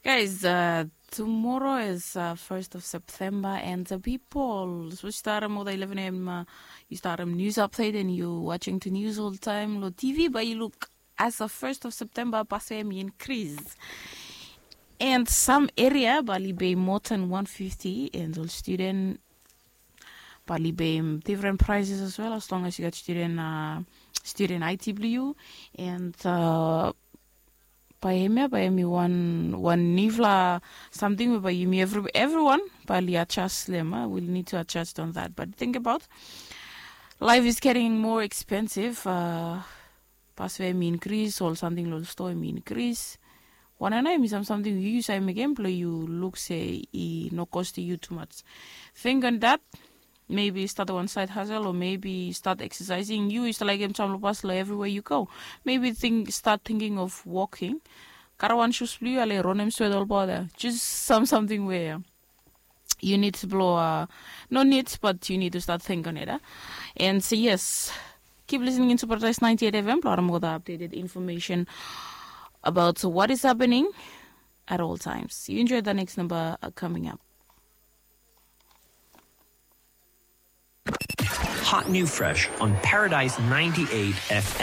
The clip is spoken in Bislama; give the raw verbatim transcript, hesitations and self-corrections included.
Guys, uh, tomorrow is uh, first of September, and the people, so start them all eleven a.m. Uh, you start them news update, and you watching the news all the time lo T V, but you look as the first of September, pasem increase. And some area bali be more than one fifty, and all student bali be different prices as well, as long as you got student uh, student I T W, and uh, by him, yeah, by him, one one nifla something by him, every, everyone, but yeah, adjust them. Uh, we'll need to adjust on that. But think about life is getting more expensive. Uh, pas we mi increase, all something lo store mi increase. One and I mi some something you use I make employ you look say i no cost you too much. Think on that. Maybe start one side hustle, or maybe start exercising. You is like em chamlo pas lo everywhere you go. Maybe think start thinking of walking. Karawan shoes blue ale ronem sweat all bother. Just some something where you need to blow uh, no need, but you need to start think on it. Uh? And say yes. Keep listening into Paradise ninety-eight F M, lo mo the updated information about what is happening at all times. You enjoy the next number uh, coming up. Hot new fresh on Paradise ninety-eight F M.